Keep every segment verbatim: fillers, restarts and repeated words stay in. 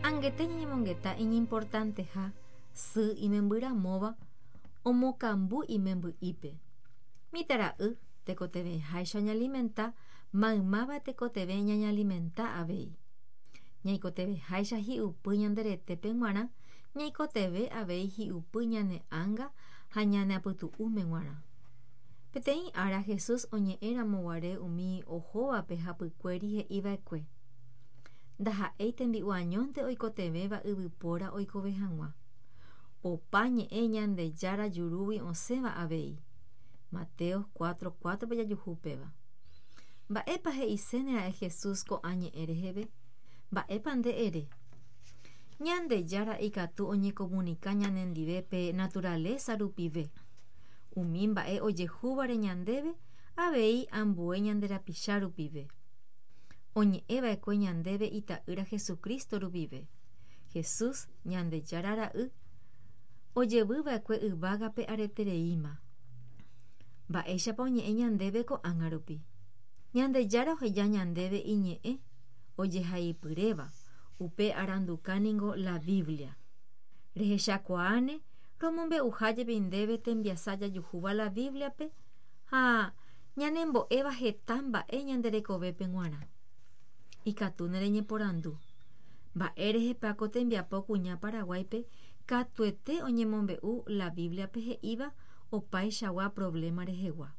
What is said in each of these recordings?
Angete ñañemongeta iñimportanteha sy imembyramóva omokambu imemby'ípe. Mitãra'y tekotevẽháicha oñealimenta maymáva tekotevẽ ñañealimenta avei. Ñaikotevẽháicha hi'upy ñande retépe g̃uarã ñaikotevẽ avei hi'upy ñane ánga ha ñane apytu'ũme g̃uarã. Peteĩ ára Jesús oñe'ẽramoguare umi ohóvape hapykuéri he'iva'ekue: Ndaha'éi tembi'u añónte oikotevẽva yvypóra oikove hag̃ua. Opa ñe'ẽ Ñandejára jurúgui osẽva avei. Mateo cuatro cuatro pe jajuhu péva. Mba'épa he'isénera'e Jesús ko'ã ñe'ẽ reheve? Mba'épa nde ere? Ñandejára ikatu oñekomunika ñanendive pe naturaleza rupive. Umi mba'e ojehúvare ñandéve avei ambue ñande rapicha rupive. Oñe'ẽva'ekue ñandéve ita'ýra Jesucristo rupive. Jesús, Ñandejára ra'y, ojevyva'ekue yvágape aretereíma. Mba'éichapa oñe'ẽ ñandéve ko'ág̃a rupi? Ñandejára oheja ñandéve iñe'ẽ ojehaipyréva, upe aranduka ningo la Biblia. Rehechakuaáne romombe'uha jepi ndéve tembiasa jajuhúva la Biblia-pe ha ñanembo'éva heta mba'e ñande rekovépe g̃uarã. Ikatu nereñeporandu. Mba'érehepa ko tembiapo kuña Paraguáipe katuete oñemombe'u la Biblia-pe he'íva opaichagua problema rehegua.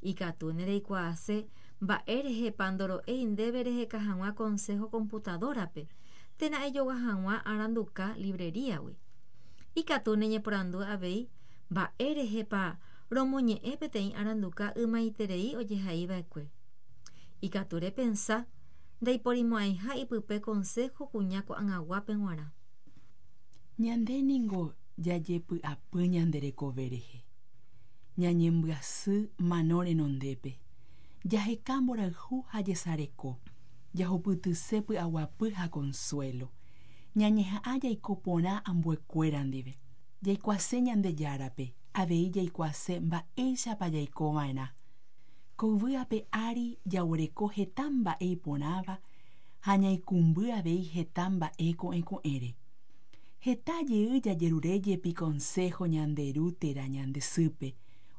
Ikatu nereikuaase mba'érehepa ndoro'éi ndéve reheka hag̃ua consejo computadora-pe térã ejogua hag̃ua aranduka librería-gui. Ikatu neñeporandu avei mba'érehepa romoñe'ẽ peteĩ aranduka ymaiterei ojehaiva'ekue. Ikatu repensa ndaiporimo'ãiha ipype consejo kuña ko'ag̃aguápe g̃uarã. Ñande ningo jajepy'apy ñande rekove rehe. Ñañembyasy mano renondépe. Jaheka mborayhu ha jesareko. Jahupytyse py'aguapy ha consuelo. Ñañeha'ã jaiko porã ambuekuéra ndive. Jaikuaase Ñandejárape, avei jaikuaase mba'éichapa jaikova'erã. Ko yvy ape ári jaguereko heta mba'e iporãva ha ñaikũmby avei heta mba'e ko'ẽko'ẽre. Heta jey jajerure jepi consejo ñande ru térã ñande sýpe,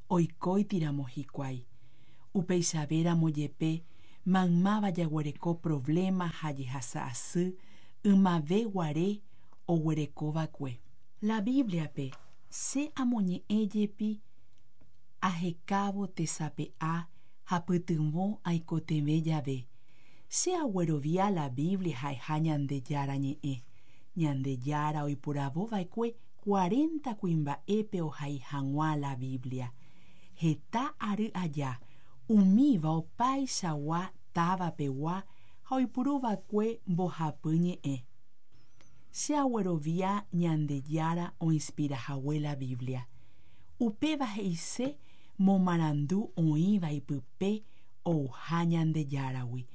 oikóitiramo hikuái. Upeichavéramo jepe maymáva jaguereko problema ha jehasa asy ymave guare oguerekova'ekue. La Biblia-pe che amoñe'ẽ jepi ahekávo tesape'a ha pytyvõ aikotevẽ jave. Che aguerovia la Biblia ha'eha Ñandejára ñe'ẽ. Ñandejára oiporavova'ekue cuarenta kuimba'épe ohai hag̃ua la Biblia. Heta ary aja umíva opaichagua távapegua ha oipuruva'ekue mbohapy ñe'ẽ. Che aguerovia Ñandejára oinspirahague la Biblia. Upéva he'ise momarandu oĩva ipype ouha Ñandejáragui.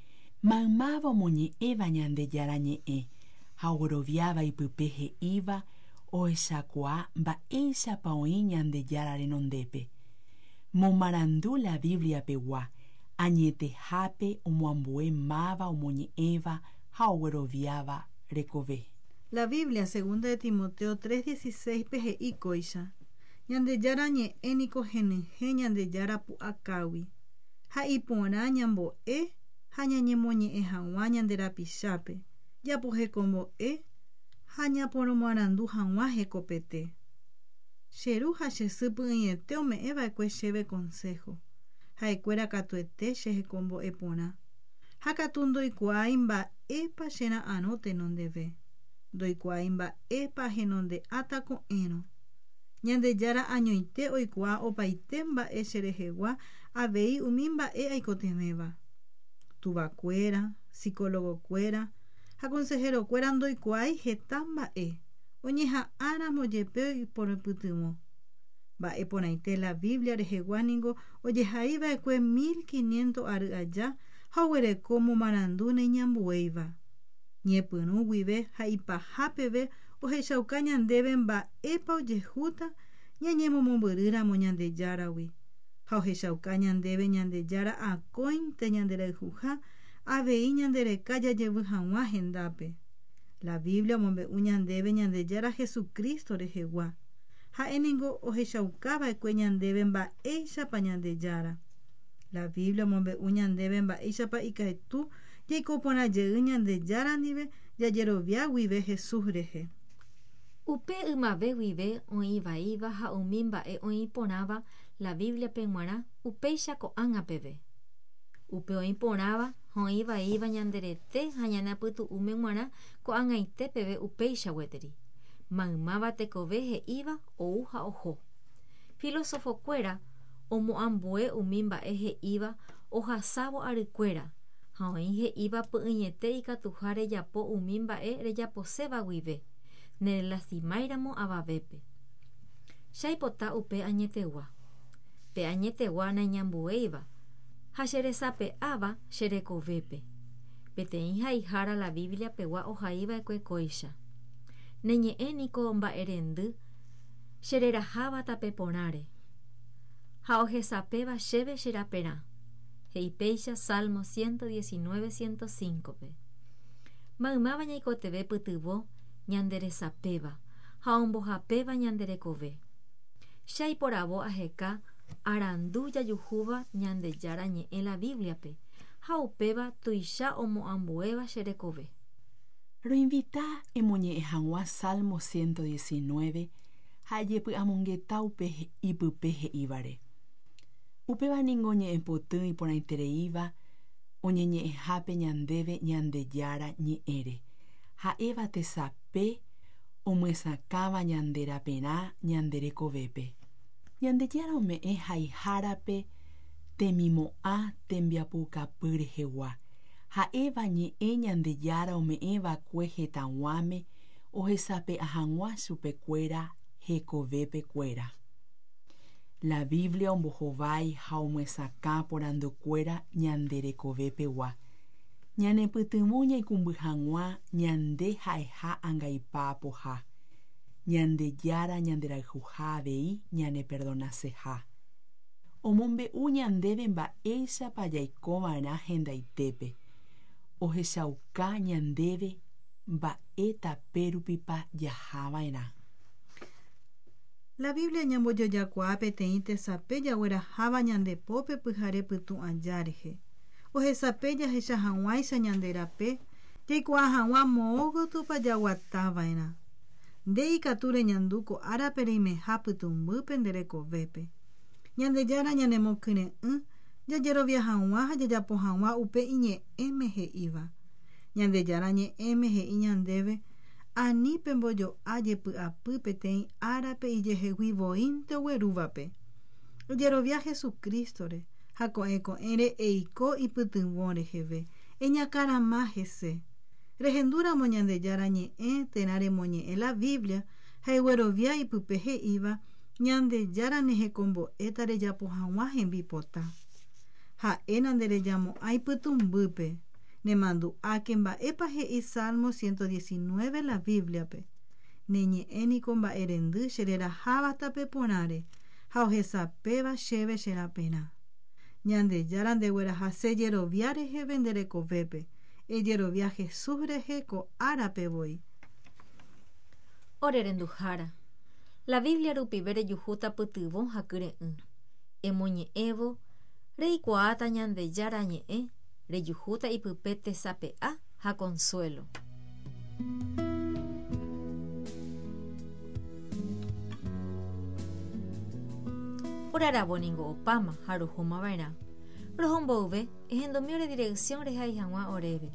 Maymáva omoñe'ẽva Ñandejára ñe'ẽ ha ogueroviáva ipype he'íva ohechakuaa mba'éichapa oĩ Ñandejára renondépe. Momarandu la Biblia-pegua añetehápe omoambue máva omoñe'ẽva ha ogueroviáva rekove. La Biblia, segunda de Timoteo tres dieciséis pe he'i kóicha. Ñandejára ñe'ẽ niko henyhẽ Ñandejára pu'akágui. Ha iporã ñambo'e ha ñañemoñe'ẽ hag̃ua ñande rapichápe. Japohekombo'e ha ñaporomoarandu hag̃ua hekopete. Che ru ha che sy py'ỹiete ome'ẽva'ekue chéve consejo. Ha'ekuéra katuete che hekombo'e porã. Ha katu ndoikuaái mba'épa chera'arõ tenondeve. Ndoikuaái mba'épa henonde'áta ko'ẽrõ. Ñandejára añoite oikuaa opaite mba'e cherehegua avei umi mba'e aikotevẽva. Tuvakuéra, psicólogokuéra ha consejerokuéra ndoikuaái heta mba'e. Oñeha'ãramo jepe oiporopytyvõ. Mba'e porãite la Biblia rehegua ningo ojehaiva'ekue mil quinientos ary aja ha oguereko momarandu neñambuéiva. Ñepyrũ guive ha ipaha peve ohechauka ñandéve mba'épa ojehúta ñañemomombyrýramo Ñandejáragui. Ha ohechauka ñandéve Ñandejára akóinte ñanderayhuha avei ñandereka jajevy hag̃ua hendápe. La Biblia omombe'u ñandéve Ñandejára Jesucristo rehegua. Ha'éningo ohechaukava'ekue ñandéve mba'éichapa Ñandejára. La Biblia omombe'u ñandéve mba'éichapa ikatu jaiko porã jey Ñandejára ndive jajerovia guive Jesús rehe. Upe ymave guive oĩvaíva ha umi mba'e oĩporãva la Biblia-pe g̃uarã upéicha ko'ág̃a peve. Upe oĩporãva ha oĩvaíva ñanderete ha ñane apytu'ũme g̃uarã ko'ag̃aite peve upéicha gueteri. Maymáva tekove he'íva ou ha oho. Filosofokuéra omoambue umi mba'e he'íva ohasávo arykuéra ha oĩ he'íva py'ỹiete ikatuha rejapo umi mba'e rejaposéva guive nerelastimáiramo avavépe. Che upe añetegua. Pe añetegua naiñambuéiva ha cheresape'áva cherekovépe. Peteĩ haihára la Biblia pegua ohaiva'ekue kóicha. Neñe'ẽ niko mba'erendy chereraháva tape porãre ha ohesapéva chéve cheraperã. He'ipéicha Salmo ciento diecinueve ciento cinco-pe. Maymáva ñaikotevẽ pytyvõ ñanderesapéva ha ombohapéva ñanderekove. Che aiporavo aheka arandu jajuhúva Ñandejára ñe'ẽ la Biblia-pe ha upéva tuicha omoambuéva cherekove. Roinvita emoñe'ẽ hag̃ua Salmo ciento diecinueve ha ejepy'amongeta upe ipype he'ívare. Upéva ningo ñe'ẽpoty iporãitereíva oñeñe'ẽhápe ñandéve Ñandejára ñe'ẽre. Ha'éva tesape omyesakãva ñanderaperã ñanderekovépe. Ñandejára ome'ẽ haihárape temimo'ã tembiapokapy rehegua. Ha'éva ñe'ẽ Ñandejára ome'ẽva'ekue hetãguáme ohesape'a hag̃ua chupekuéra hekovépekuéra. La Biblia ombohovái ha omyesakã porandukuéra ñanderekovépegua. Ñanepytyvõ ñaikũmby hag̃ua ñande ha'eha angaipa apoha. Ñandejára ñanderayhuha avei ñaneperdonaseha. Omombe'u ñandéve mba'éichapa jaikova'erã hendaitépe. Ohechauka ñandéve mba'e tapérupipa jahava'erã. La Biblia ñambojojakuaa peteĩ tesape jagueraháva ñandepópe pyhare pytũ aja rehe. Ohesape jahecha hag̃uáicha ñanderape jaikuaa hag̃ua moõgotypa jaguatava'erã. Nde ikatu reñandu ko árape reimeha pytũmbýpe nderekovépe. Ñandejára ñanemokyre'ỹ jajerovia hag̃ua ha jajapo hag̃ua upe iñe'ẽme he'íva. Ñandejára ñe'ẽme he'i ñandéve ani pembojo'a jepy'apy peteĩ árape ijehegui voínte oguerúvape. Ojerovia Jesucristo-re ha ko'ẽ ko'ẽre eiko ipytyvõ reheve eñakarama hese. Rehendúramo Ñandejára ñe'ẽ térã remoñe'ẽ la Biblia ha eguerovia ipype he'íva Ñandejára nehekombo'éta rejapo hag̃ua hembipota. Ha'e nanderejamo'ãi pytũmbýpe. Nemandu'áke mba'épa he'i Salmo ciento diecinueve la Biblia-pe. Neñe'ẽ niko mba'erendy chereraháva tape porãre ha ohesapéva chéve cheraperã. Ñandejára ndeguerahase jerovia reheve nderekovépe. Ejerovia Jesús rehe ko árape voi. Ore renduhára. La Biblia rupive rejuhúta pytyvõ ha kyre'ỹ. Emoñe'ẽvo reikuaáta Ñandejára ñe'ẽ rejuhúta ipype tesape'a ha consuelo. Oraravo ningo opáma ha rohómava'erã. Rohomboyve ehendomi ore dirección rehai hag̃ua oréve.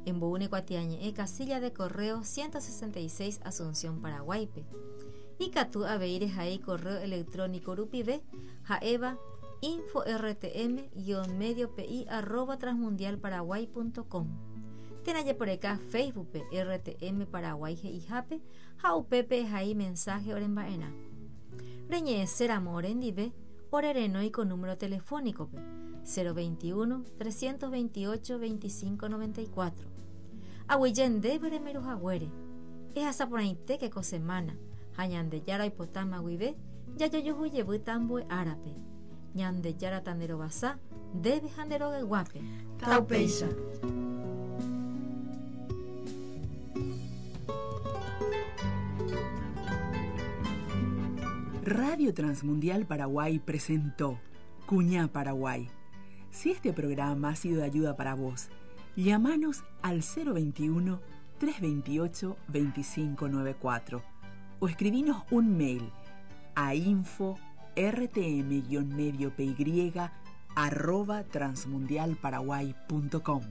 Emboúne kuatiañe'ẽ casilla de correo ciento sesenta y seis Asunción, Paraguaype. Ikatu avei rehai correo electrónico rupive ha'éva info rtm guión medio pi arroba transmundialparaguay punto com. Térã jeporeka Facebook-pe R T M Paraguay he'ihápe ha upépe ehai mensaje oremba'erã. Reñe'ẽséramo orendive orerenói ko número telefónico-pe cero veintiuno trescientos veintiocho veinticinco noventa y cuatro. Aguyje ndéve remeruhaguére. Ehasaporãitéke ko semana ha Ñandejára oipotáma guive jajojuhu ambue árape. Ñandejára tanderovasa ndéve ha nderogayguápe. Taupéicha. Radio Transmundial Paraguay presentó Cuñá Paraguay. Si este programa ha sido de ayuda para vos, llámanos al cero veintiuno, trescientos veintiocho, veinticinco noventa y cuatro o escribinos un mail a info r t m guión medio p y arroba transmundialparaguay punto com.